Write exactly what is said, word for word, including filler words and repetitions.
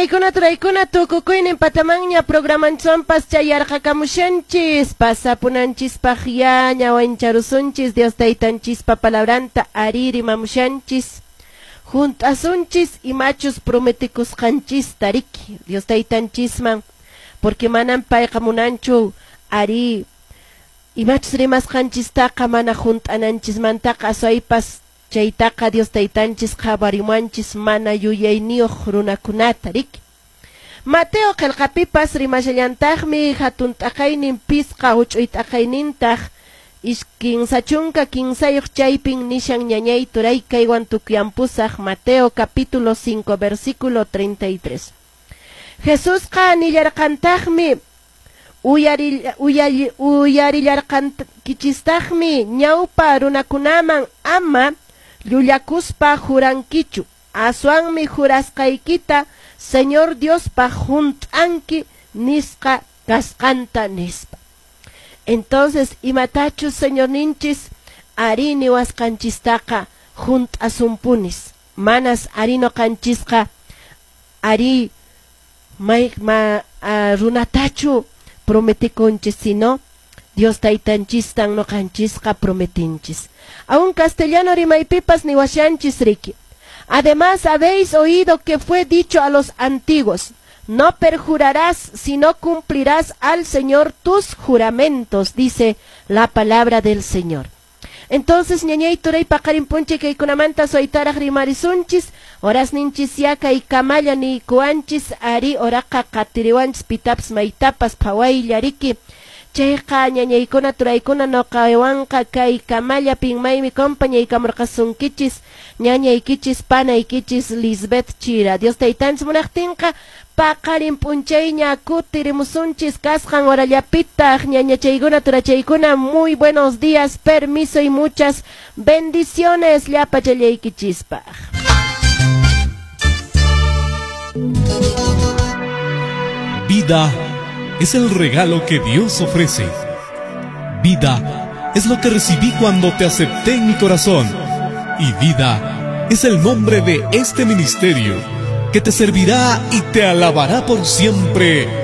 Ñañaykuna turaykuna tukukuynin patamanña programanchwanpas chayarqakamushanchis pasapunanchispaq ya ñawancharusunchis Dios taytanchispa palabranta ari rimamushanchis junt'asunchis imachus prometikusqanchista riki Dios taytanchisman porque manan payqa munanchu ari imachus rimasqanchistaqa mana junt'ananchismantaqa aswaypas chaytaqa Dios taytanchis qhawarimuwanchis mana yuyayniyuq runakunata riki. Mateo qillqapipas rimashallantaqmi hatun t'aqaynin pisqa huch'uy t'aqaynintaq kinsa chunka kinsayuq chaypin nishan ñañay turay kaywan tukuyampusaq Mateo capítulo cinco versículo treinta y tres. Jesusqa nillarqantaqmi uyari uyarillarqankichistaqmi ñawpa runakunaman ama llullakuspa jurankichu aswanmi jurasqaykita Señor Diospaq junt'anki nisqa kasqanta nispa. Entonces imatachus Señorninchis ari niwasqanchistaqa junt'asunpunis manas ari noqanchisqa ari may ma uh, runatachu prometikunchis sino Dios taytanchistan noqanchisqa prometinchis. Aún castellano rimaypipas niwashanchis riki. Además habéis oído que fue dicho a los antiguos, no perjurarás, sino cumplirás al Señor tus juramentos, dice la palabra del Señor. Entonces, ñañay turay paqarin punche kaykunamanta soytaraq rimarisunchis, horas ninchis yaka y kamalla ni kuanchis, ari oraqa qatiriwanchis pitapas maytapas phawaylla riki. Chayqa ñañaykuna turaykuna noqawanqa kay kamalla pinmaymi compañaykamurqasunkichis ñañaykichis panaykichis Lisbeth Chira. Dios taytanchis munaqtinqa paqarin p'unchayña kutirimusunchis kasqan horallapitaq ñañachaykuna turachaykuna muy buenos días, permiso y muchas bendiciones llapachallaykichispaq. Vida es el regalo que Dios ofrece. Vida es lo que recibí cuando te acepté en mi corazón. Y vida es el nombre de este ministerio que te servirá y te alabará por siempre.